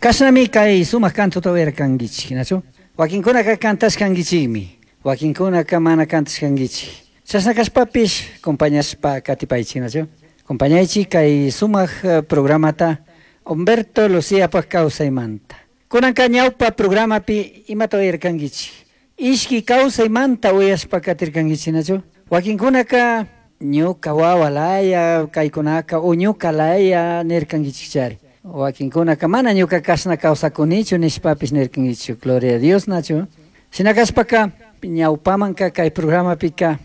Kashnami kay sumak cantota uyarkankichik, nachu? Wakinkunaka cantashkankichikmi, wakinkunaka mana cantashkankichik. Chashna kashpapish compañashpa katipaychik, nachu? Compañaychik kay sumak programata Humberto Luciapak kawsaymanta. Kunanka ñawpa programapi imata uyarkankichik? Ishki kawsaymanta uyashpa katirkankichik, nachu? Wakinkunaka ñuka wawa laya kaykunaka o ñuka laya nirkankichikchari. Wakinkunaka mana ñuka kashna kawsakunichu nishpapish nirkankichik. Gloria a Dios, nachu? Shina kashpaka ñawpamanka kay programapika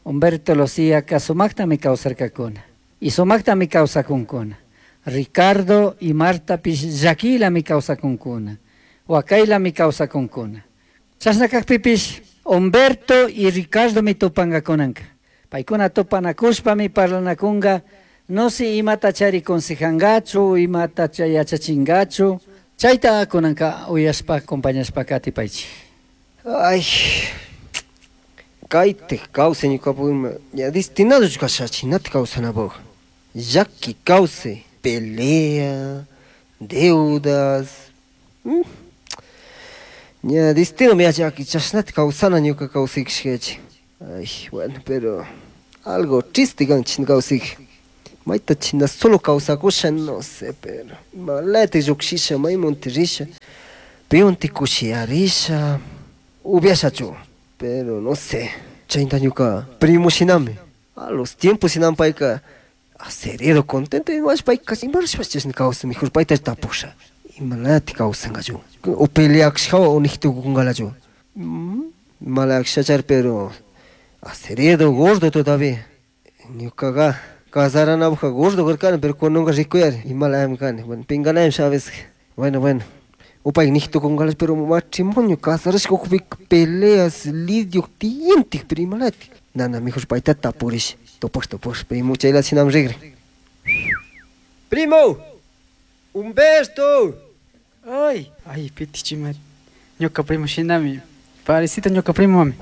Humberto Luciaka sumaktami kawsarkakuna. Y sumaktami kawsakunkuna. Ricardo y Martapish llakilami kawsakunkuna. Wakaylami kawsakunkuna. Chashna kakpipish Humberto y Ricardomi tupankakunanka. Paykuna tupanakushpami parlanakunka, no si imata chari consejangachu, imata yachachingachu. Chayta kunanka uyashpa, acompañashpa katipaychik. Ay, kaytik kawsay ñukapak ña destinado kasha chinata kawsanapak. Llaki kawsay, pelea, deudas. Ña destino mi llaki chashnata kawsana ñuka kawsaykishkachi. Ay, bueno, pero algo triste kan china kawsayki. Mayta china solo kawsakusha, no sé, pero imalata llukshisha, maymunti risha, piwanti kushiyarisha, upiashachu, pero no sé, chayta ñuka primo shinami. A los tiempos shinami payka aceredo, contento, imash payka imarashpash chashna kawsan, mejor payta tapusha. Imalata kawsankachu, o peleakshka o niktukunkalachu. Malakshachar, pero aceredo, gordo todavía. Ñukaqa casaranapajka gordo karkani, pero kunanka rikuyari, imalayami kani. Bueno, pinganaymi a veces. Bueno, bueno. Upayka niktukunkalachu, pero matrimonio casarashka ukupika peleas, lidio tiyantik, pero imalatik. Nana, mejor payta tapurish. Tupash, tupash, primo, chayla shinami rigri. Primo! Humberto! Ay, ay, pitichimari. Ñuka primo shinami. Parecito ñuka primo mami.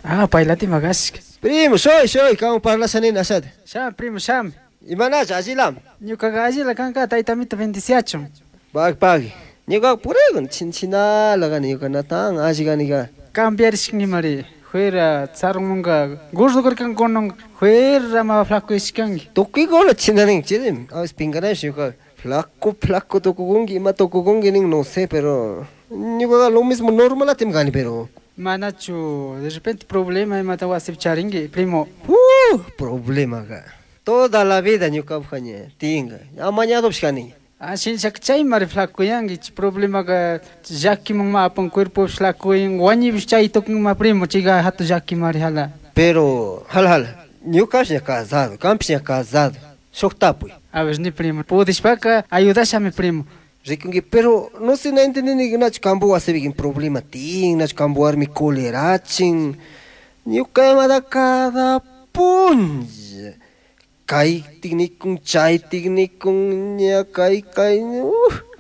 Ah, paylati magashka. Primo, soy, soy, kamo parlasha nini ashata. Sham, primo, sham. Imanacha, allilam. Ñukaqa allila kanka, taytamita bendiciachun. Pagui, pagui. Ñukaqa purigun, chin chinala kani, ñuka natan alli kanika. Cambiarishkanimari. Fuera, tsarunmunka, gordo karkan kunan, fuera ma flaco ishkanki. Tukuykuna chinanin, chidim. A veces pinganaysh ñuka. Flaco, flaco tukukunki, ima tukukunki nin, no sé, pero ñukaqa lo mismo normalatim kani, pero Manachu, de repente problema imata wasipi charinki, primo. Problema ka. Toda la vida ñukapajka ña tiyanka. Amañadopish kani. Ah, shinshaka chaymari flacuyanki, chay problemaka llakiman ma apan cuerpopish flacuyan, wañuypish chay tukunma primo, chayka hatun llakimari jala. Pero, jala, jala, ñukapish ña casado, kanpish ña casado, shuk tapuy. A ver, ni primo, pudishpaka ayudashami primo. Rikunki, pero no sé, no entendí nachu kampu wasipi problema tiyan, nachu kampu warmi colerachin. Ñuka imata cada punlla. Kaytik nikun, chaytik nikun, ña kay, kay,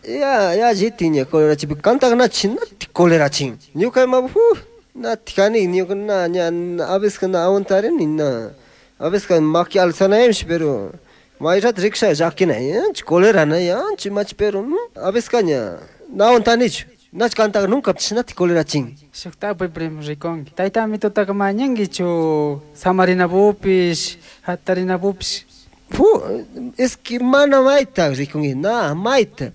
ya, ya llitin ña colerachin, kantaka na chinati colerachin. Ñuka ima, nati kani, ñuka na, ña, a veces na aguantarini, na, a veces maki alzanaymish, pero mayrat riksha llakina, yanchi colerana, yanchi machi, pero a veces ña, na aguantanichu. Nach kantaka nunca chinati colerachin. Shuk tapuy primo rikunki. Taytami tutaka mañankichu samarinapupish, hatarinapupish. Fu, es que mana mayta rikunki, na mayta.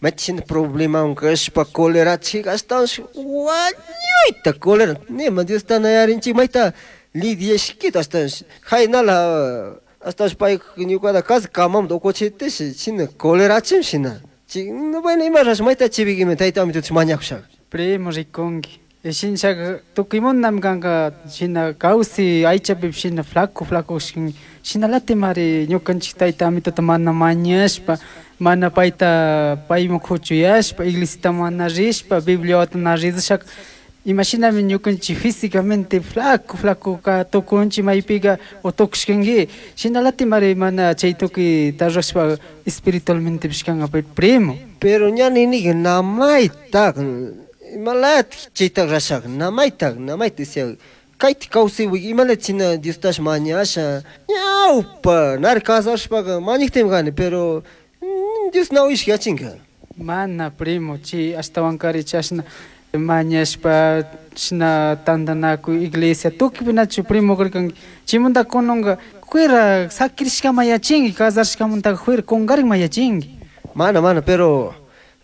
Machin problema kashpa colerachik ashtawanshi wañuyta colera. Nima Dios ta nayarinchik mayta lidiashkita ashtawanshi. Jaynala ashtawanshi pay ñukata casi kamamta ukuchitish china colerachim shina. Chi, no, bueno, ima rash mayta chibikimi taytami tuti mañakushaga. Primo rikunki. Shinshaka tukuymunami kanka shina kawsi aychapipish shina flaco flaco shin, shinalatimari ñukanchik tayta amituta mana mañashpa, mana payta payman kuchuyashpa, iglesiata mana rishpa, Bibliata na ridishaka. Imashinami ñukanchik físicamente flaco flaco ka tukunchik maypika o tukushkanki. Shinalatimari mana chay tukuy tarrashpa espiritualmente kanka primo. Pero ña niniki namayta, imalayat chayta rashaka, namayta, namayta decía, kayta kawsaywi imalayat china Diostash mañasha, ñawpa, nari casashpaka mañaktim kani, pero Dios na uyashka yachinka. Mana primo, chi ashtawankari chashna mañashpa chashna tantanakuy iglesia tukuypi nachu primo karkanki chaymanta kunanka fuera sakirishkama yachinki casarishkamantaka fuera kunkarin yachinki. Mana, mana, pero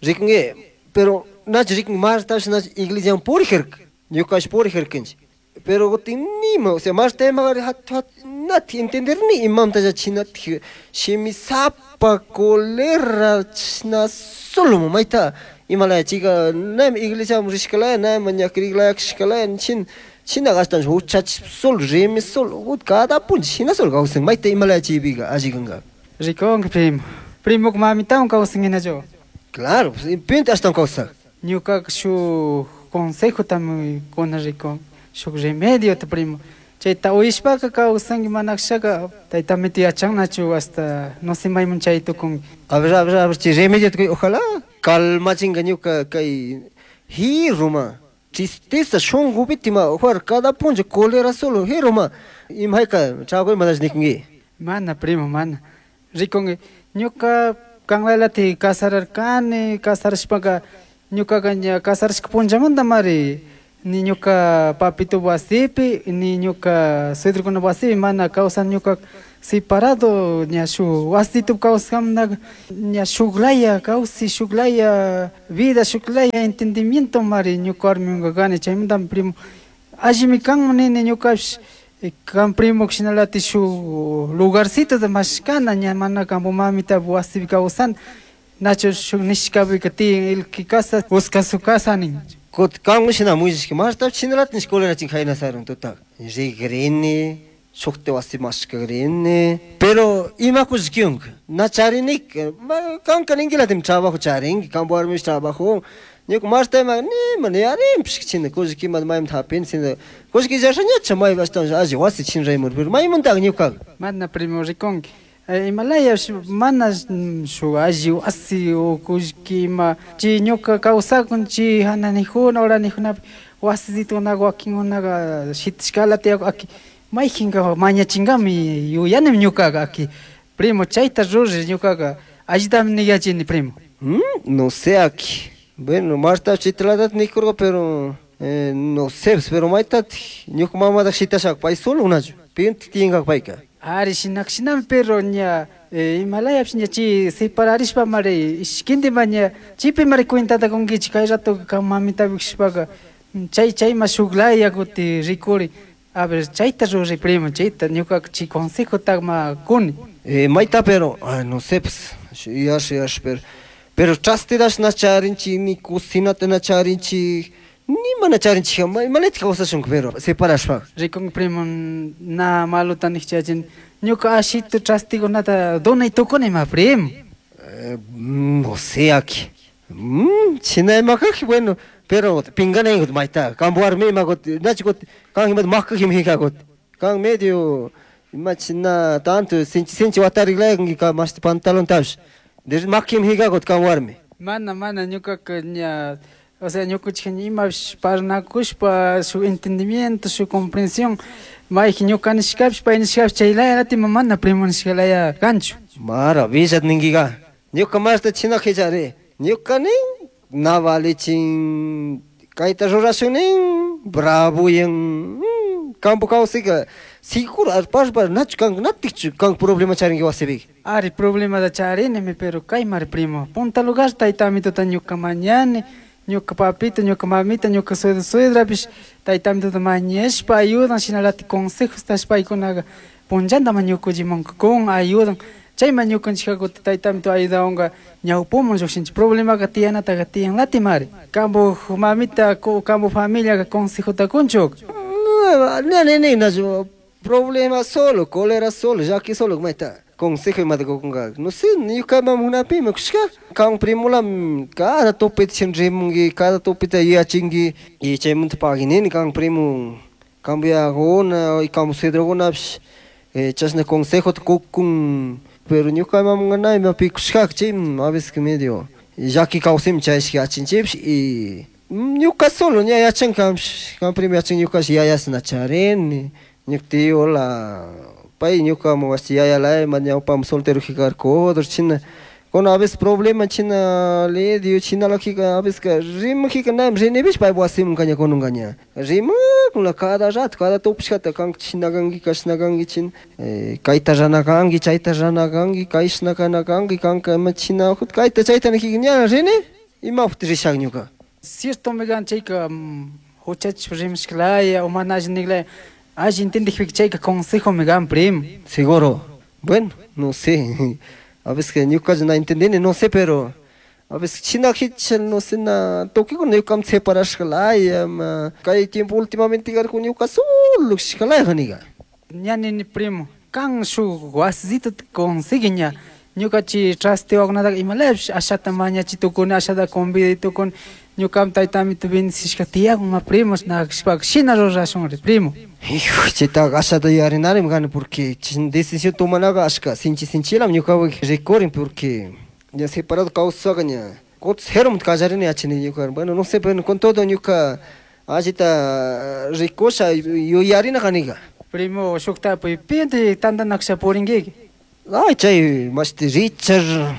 rikunki, pero nachu rikunki Martash nachu iglesiaman purijarka, ñukash purijarkanchik. Pero kutin nima, o sea, Marta imagari hat hat nati entenderni imamta chinati shimisapa colera chashna solo mayta imalaya chayka nami iglesiaman rishkalaya nami ñakriklaya kashkalaya chin china ashtawan huchachishpa solo rimi solo cada punlla shina solo kawsan mayta imalaya chaypika alli kanka. Rikunki primo, primoka mamitawan kawsanki Claro, pues, pinta ashtawan kawsak. Ñukaka shuk consejotami kuna rikun, shuk remediota primo. Chayta uyashpaka kawsanki mana kashaka taytamito yachannachu hasta no sé mayman chay tukunki. A ver, a ver, a ver, chay remediota ojalá calmachinka ñuka kay jirruma tristeza shunkupitima juar cada punlla cólera solo jirruma imahayka trago imatash nikunki. Mana primo, mana. Rikunki ñuka kanlalati casararkani, casarashpaka ñukaka ña casarashka punllamantamari ni ñuka papito wasipi ni ñuka suedrokuna wasipi mana kawsan ñuka separado ña shuk wasito kawskamantaka ña shuklaya kawsay, shuklaya vida, shuklaya entendimiento mari ñuka warmiwanka kani. Chaymantami primo allimi kanman nini ñukapish kan primo shinalatik shuk lugarcitota mashkana ña mana kanpak mamitapak wasipi kawsana nachu shuk nishkapika tiyan el que casa busca su casa nin. Kutin kanmi shina mullashka Martapish shinalatik colerachin jaynasarun tutaka rigrini shukti wasi mashkagrini pero imakush kiunka na charinika kanka ninkilatimi trabajo charinki kanpak warmipish trabajo ñuka Marta ima nima yarinpish china kullkimanta maymanta hapini sino kullki illasha ñacha maypi ashtawan alli wasi chinraymuri pero maymantaka ñukaka. Mana primo rikunki imalayash mana shuk alli wasi o kullki ima chay ñuka kawsakun chay hananijuna uranijunapi wasisitukunaka wakinkunaka shitashkala tiyakun aki mayjinka mañachinkami yuyanimi ñukaka aki primo chayta ruri ñukaka allitami niyachini primo. No sé aki. Bueno, Marta chaytalatata nikurka pero no sé pero maytatik ñuka mamataka shitashaka pay solo nachu pintik tiyankaka payka. Ari shinaka shinami pero ña imalayapish ña chay separarishpamari ishkindima ña chaypimari cuentata kunkichik kay rato kan mamitapi kashpaka chay chayma shuklaya kuti rikuri. A ver, chayta ruri primo, chayta ñukaka chay consejota ma kuni. Mayta pero, ay, no sé pues, yash yash pero pero trastedash na charinchik ni cocinata na charinchik nima na charinchik imalatik kawsashunka pero separashpaka. Rikunki primo na maluta nikchachin ñuka ashitu trastikunata donay tukuni ma primo. No sé aki. China imakaki bueno pero pinganay mayta kanpak warmi ima kuti nachu kuti kan imata makakimi jika kuti kan medio ima china tanto sinchi sinchi watariklayanki ka mashti pantalontapish makimi jika kuti kan warmi. Mana, mana ñukaka ña o sea ñukanchik imapish parlanakushpa shuk entendimiento shuk comprensión mayjin ñuka nishkapish pay nishkapish chaylayalatik mana primo nishkalaya kanchu. Maravilla ninkika ñuka mashta china qillari ñuka nin na valichin kayta rurashun nin bravoyan kampo kawsayka seguro arpashpa nachu kanka natikchu kanka problema charinki wasipika. Ari problemata charinimi pero kaymari primo punta lugar tayta amituta ñuka mañani ñuka papito ñuka mamita ñuka suegro suegrapish tayta amituta mañashpa ayudan shinalatik consejos tashpaykunaka punllantama ñukanchikmanka kun ayudan chayma ñukanchikka kutin tayta amito ayudawanka ñawpuman llukshinchik problemaka tiyanataka tiyanlatimari kanpak mamita kanpak familiaka consejota kunchuk. Ne ne ne nachu problema solo cólera solo llaki solo mayta consejo imata kukunka no sé ñuka mamunapimi kushka kan primola cada topita chin rimunki cada topita yuyachinki y chaymanta paginini kan primo kanpak yayakuna y kanpak suedrokunapish chashna consejota kukun pero ñuka mamunka na imapi kushkaka chaymi a veces medio llaki kawsaymi chayashka yachinchikpish y ñuka solo ña yachan kanpish kan primo yachan ñukash yayas na charini ñuka tiola pay ñukamun wasi yayalaya ima ñawpaman soltero jikarka china Con a veces problema china le dio china la kika a veces ka rim kika nam rinibish pay wasim kanya konun kanya. Rim con la cada rato cada topshkata kan china kangi kashna kangi chin kayta rana kangi chayta rana kangi kayshna kana kangi kanka ma china hut kayta chayta kika ña rini ima hut rishak ñuka. Cierto me gan chayka huchach rimshklaya o mana alli alli entendijpika chayka consejo me gan primo. Seguro. Bueno, no sé. A veces que ñuka no entendí, no sé, pero a veces china hichal no sé na toque con ñuka separashkalaya ma kay tiempo últimamente con ñuka solo shkalaya haniga. Ñani primo, kan shuk wasito consigue ña ñuka chi trastewakunataka imalapish ashata mañachitukuni ashata convidatukuni ñukam taytami bendecishka tiyakun ma primo nakashpaka shina rurashunri primo. Hijo, chaytaqa ashata yuyarinarimi kani porque decisión tomanaqa ashka sinchi sinchilam ñukapak rikurin porque ña separado kawsaka ña kutin ceromunta kallarini yachani ñuka. Bueno, no sé, pero con todo ñuka allita rikusha yuyarina kaniga. Primo, shukta pinti tantanakusha purinkiki. Ay, chay mashti Richard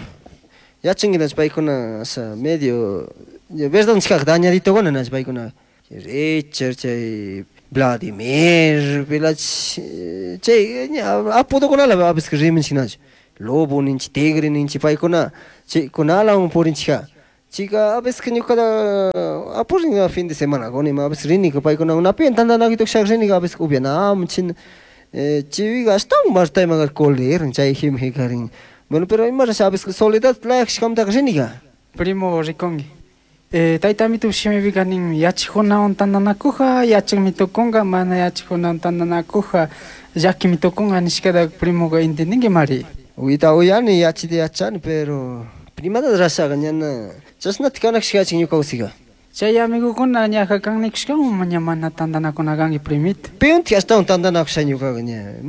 yachankinach paykuna asha medio verdad nishkaka dañaditokuna nach paykuna. Richard chay Vladimir pilach chay apodokunala a veces rimanchik nach. Lobo ninchik, tigre ninchik paykuna chaykunalawan purinchikja. Chika a veces ñukata apurin fin de semana kunima a veces rinika paykuna unapi tantanakuy rinika a veces upianamun china chiviga ashtawan martayman colerin chay jimjikarin. Bueno, pero ima rasha a veces soledad layakshkamtaka rinika. Primo rikunki. Taytamitu shimipika ninmi yachajkunawan tantanakuja yachakmi tukunka mana yachajkunawan tantanakuja llakimi tukunka nishkata primoka entendinki mari. Uyta uyani yachita yachani pero primata rashaka ñana chashnata kanakshkachik ñuka usika. Chay amigokuna ñaja kan nikushkawan ña mana tantanakuna kanki primito. Piunti ashtawan tantanakusha ñukaka ña.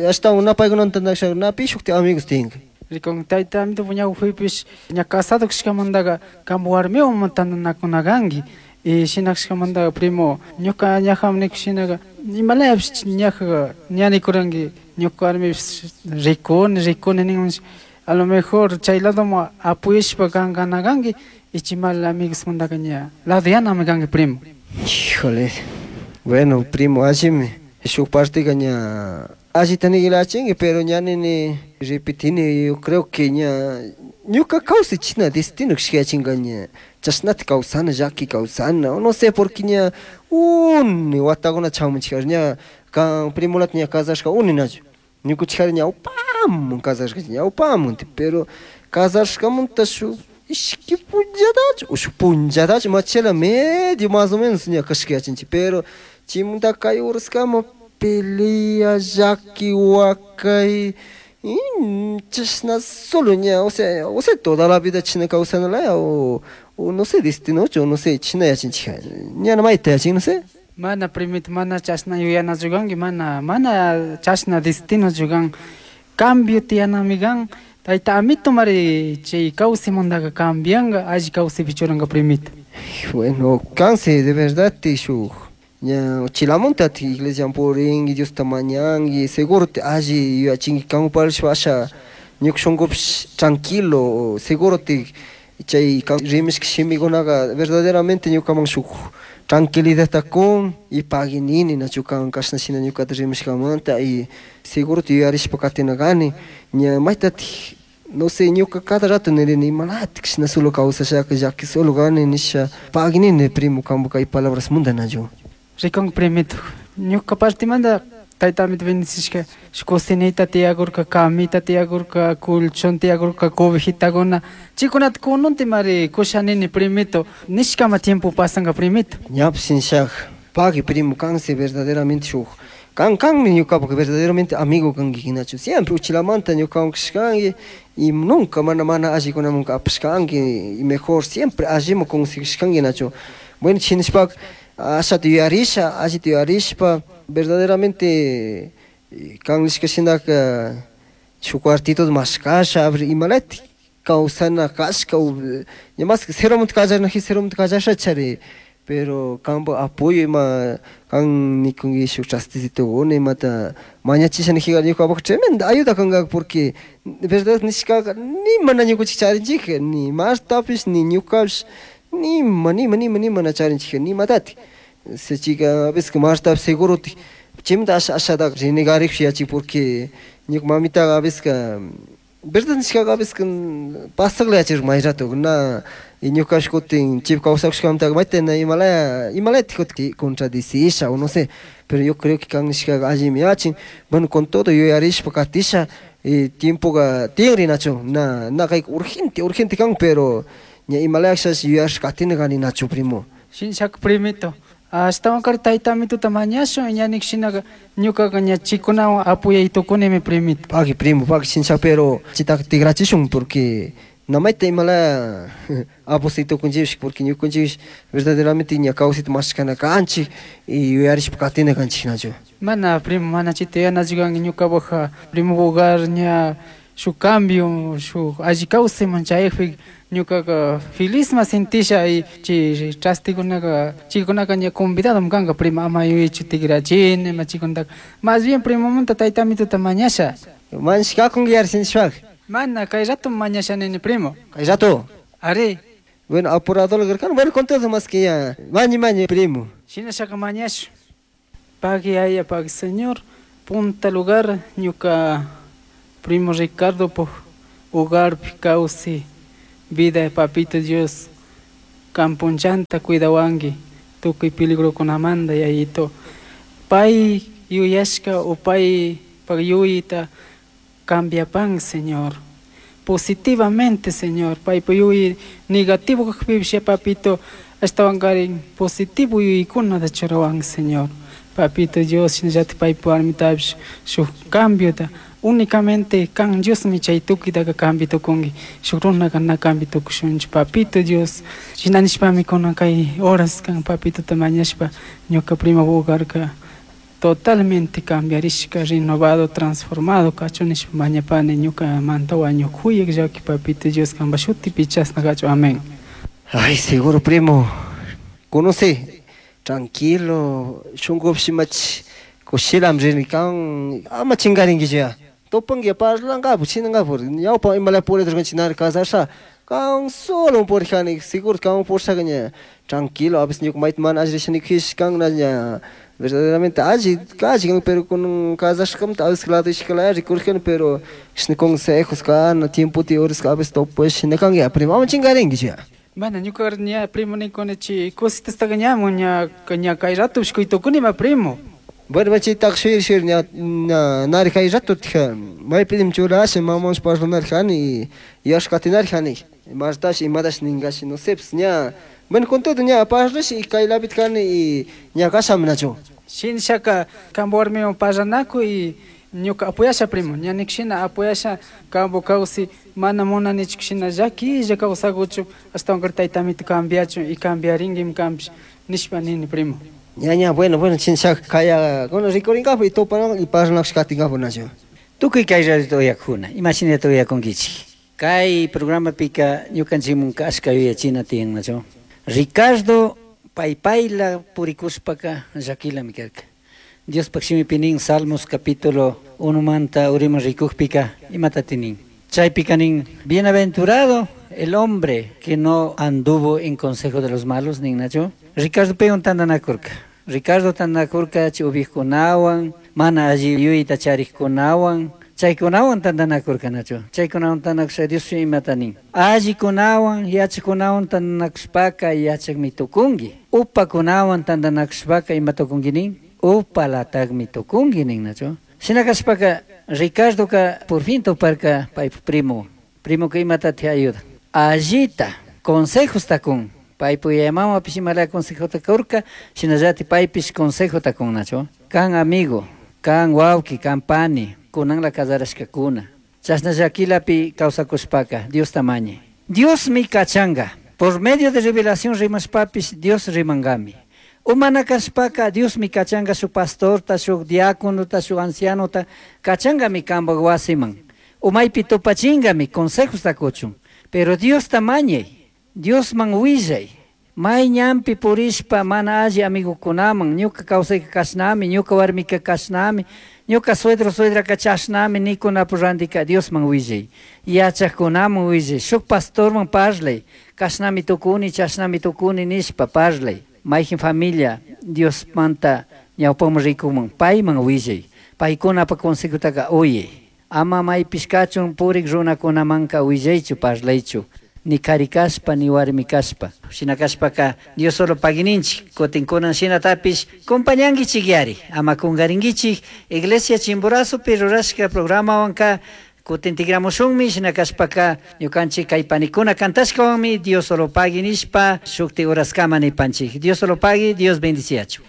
Ashtawan na paykunawan tantanakusha napi shukti amigos tiyanka. Rikun taytamito ñawpipish ña casado kashkamantaka kanpa warmiwan tantanakuna kanki. Y shinakashkamantaka primo ñuka ñajam nikushinaka imalayapish ñaja ña nikuranki ñuka warmipish rikuni rikuni ninmanchik a lo mejor chay ladoman apoyashpa kan kana kanki y chay mal amigosmantaka ña ladoyanami kanki primo. Híjole. Bueno, primo, allimi shuk partika ña allita nikilachinki pero ña nini repetini yo creo que ña ñuka kawsay china destino kashkayachinka ña chashnata kawsana llaki kawsana no sé porque ña uni watakuna chamunchik ña kan primolata ña casashka uni nachu ñukunchikari ñawpamun casashka ñawpamunti pero casashkamunta shuk ishki punllatachu o shuk punllatachu machela medio más o menos ña kashkayachinchik pero chaymunta kay uraskama pelea llaki wakay chashna solo ña o sea toda la vida china kawsanalaya o no sé destinochu o no sé china yachinchik ñana mayta yachin no sé. Mana primito mana chashna yuyanachu kanki mana mana chashna destinochu kan cambio tiyanami kan tayta amito mari chay kawsaymantaka cambianka alli kawsaypi churanka primito. Bueno, kansi de verdad shuk ña chilamunta iglesia purinki Diosta mañanki seguro te alli yuyachinki kanparishpa asha ñuka shunkupish tranquilo seguro te chay rimashka shimikunaka verdaderamente ñukaman shuk tranquilidadta kun y paguinini nachu kan kashna shina ñukata rimashkamanta y seguro te yuyarishpa katina kani ña maytatik no sé ñuka cada rato nirini imalatik shina solo kawsashaka llaki solo kani nisha paguinini primo kanpa kay palabras munda nachu. Rikun primito ñuka partimanta taytamito bendecishka shuk cocinita tiyakurka camita tiyakurka colchón tiyakurka cobijitakuna chaykunata kununtimari kushanini primito nishkama tiempo pasanka primito. Ñapish nishak pagui primo kansi verdaderamente shuk kan kanmi ñukapak verdaderamente amigo kanki hinachu siempre uchilamanta ñukawan kashkanki y nunca mana mana allikunamanka apashkanki y mejor siempre alliman conseguishkanki nachu. Bueno, chinishpaka ashata yuyarisha allita yuyarishpa verdaderamente kan nishka shinaka shuk cuartito mashkasha a ver imalatik kawsana kashka ña mas ceromunta kallarinaji ceromunta kallashachari Pero kambo apoyo ima kan nikunki shuk trastecitukuna imata mañachisha nijika ñukapak tremenda ayuda kanka, porque verdad nishkaka nima na ñukanchik charinchik, ni Martapish ni ñukapish nima nima nima nima na charinchik, nimatatik. Chika a veces Martapish segurotik chaymanta asha ashataka renegarikpish yachik, porque ñuka mamitaka a veces verdad nishkaka a veces pasakla yachirka may rato na, y ñukapish kutin chaypi kawsakushkamantaka mayta na imalaya imalayatik kutin contradecisha o no sé, pero yo creo que kan nishkaka allimi yachin. Bueno, con todo yuyarishpa katisha, y tiempoka tiyan rinachu, na na kayka urgente urgente kan, pero ña imalayakashash yuyarishpa katina kani, nachu, primo? Shinshaka primito, ashtawankari tayta amituta mañashun, ña nik shinaka ñukaka ña chikunawan apoyay tukunimi, primito. Pagui, primo, pagui, shinshaka, pero chitaka tigrachishun, porque na mayta imalaya aposay tukunchikpish, porque ñukanchikpish verdaderamente ña kawsayta mashkana kanchik y yuyarishpa katina kanchik, nachu? Mana, primo, mana chita yuyanachu kanki. Ñukapak primo hogar ña shuk cambio, shuk alli kawsayman chayakpi ñukaka feliz ma sentisha, y chay trastikunaka chaykunaka ña convidado kanka, primo. Ama yuyaychu tigrachini ima chaykunataka. Más bien primomunta tayta amituta mañasha. Mañashkakunki yari sinchishpaka. Mana, kay rato mañasha nini, primo. Kay rato? Ari. Bueno, apurado karkani. Bueno, con todo más que ya mañi, mañi, primo. Shinashaka mañasha. Pagui aya, pagui Señor, punta lugar ñuka primo Ricardo po hogarpi kawsay vida, papito Dios, kan punchanta cuidawanki tukuy peligrokunamanta, yayito. Pay yuyashka o paypak yuyayta cambiapan, Señor, positivamente, Señor. Paypa yuyay negativo kakpipish, papito, ashtawankarin positivo yuyaykunata churawanki, Señor, papito Dios. Shinallatik paypa warmitapish shuk cambiota. Únicamente kan Diosmi chay tukuytaka cambia tukunki, shuk runaka na cambia tukushunchu, papito Dios. Shina nishpami kunan kay horas kan papitota mañashpa ñuka primo hogarka totalmente cambiarishka, renovado, transformado kachun nishpa mañapani ñukamanta wañuk kuyak llaki papito Dios, kanpa shutipi chashna kachun. Amén. Ay, seguro, primo, conoce tranquilo, shunkupish imachi kushilami rini kan, ama chinkarinkichu ya. Tupanki parlankapu chinankapu ñawpa imalaya puriturkanchik nari casasha kan solo purijani, seguro kan purishaka ña tranquilo. A veces ñuka mayta mana alli risha nikujish kan na ña verdaderamente alli alli kan, pero kunan casashkamanta a veces lado ishkalaya rikurijani, pero chishna consejos kana tiempota horas a veces tupash shina kanki ya, primo, ama chinkarinkichu ya. Mana, ñuka ña primo nikuni chay cositastaka ñamun ña ña kay ratopish kuy tukunima, primo. Bueno, chaytaka shuyar shuyar ña ña nari kay rato tija maypimi churasha mamawanshi parlanarjani y yuyashpa katinarjani, Martash imatash ninkashi, no sé pues. Ña bueno, con todo ña parlash y kaylapita kani y ña kashami, nachu? Shinashaka kanpa warmiwan parlanakuy y ñuka apoyasha, primo. Ña nik shina apoyasha kampu kawsay mana munanichu shina llakilla kawsakuchun, ashtawankari tayta amito cambiachun y cambiarinkim kanpish nishpa nini, primo. Ña ña, bueno, bueno, chinshaka kaya kunan rikurinkapak y tupanapak y parlanakush katinkapak, nachu? Tukuy kay radiota uyakuna, imashinata uyakunkichik? Kay programapika ñukanchikmunka ashka yuyachina tiyan, nachu? Ricardo paypayla purikushpaka llakilami karka. Diospaj shimipi nin, Salmos capítulo 1 manta uriman rikukpika, imatati nin? Chaypika nin: "Bienaventurado el hombre que no anduvo en consejo de los malos", nin, nachu? Ricardo paywan tantanakurka. Ricardo tantanakurka chay ubiqkunawan, mana alli yuyayta charikkunawan, chaykunawan tantanakurka, nachu? Chaykunawan tantanakuspa Dios imata nin? Allikunawan yachakkunawan tantanakushpaka yachakmi tukunki. Upakunawan tantanakushpaka ima tukunki nin? Upalatakmi tukunki nin, nachu? Shina kashpaka Ricardoka por fin tuparka paypa primo. Primoka imatati ayuda? Allita consejosta kun. Paypa yaya mamapish imalaya consejota kurka, shinallatik paypish consejota kun, nachu? Kan amigo, kan wawki, kan pani, kunanla casarashkakuna, chashna llakilapi kawsakushpaka Diosta mañay. Diosmi kachanka. Por medio de revelación rimashpapish Dios rimankami. Umana kashpaka Diosmi kachanka shuk pastorta, shuk diáconota, shuk ancianota, kachankami kanpak wasiman. Umaypi tupachinkami consejosta kuchun. Pero Diosta mañay, Diosman willay. May ñanpi purishpa mana alli amigukunaman, ñuka kawsayka kashnami, ñuka warmika kashnami, ñuka suegro suegraka chashnami nikunapu randika Diosman willay, yachaqkunaman willay, shuk pastorman parlay, kashnami tukuni, chashnami tukuni nishpa parlay. Mayjin familia Diosmanta ñawpaman rikuman, payman willay, paykunapa consejotaka uyay. Ama maypish kachun purik runakunamanka willaychu, parlaychu, ni kari kashpa, ni warmi kashpa. Shina kashpaka Dios solo paguininchik, kutin kunan shinatapish compañankichik yari, ama kungarinkichik, Iglesia Chimborazopi rurashka programawanka kutin tigramushunmi, shina kashpaka ñukanchik kay panikuna kantashkawanmi Dios solo pagui nishpa shukti uraskama nipanchik. Dios solo pagui, Dios bendiciachu.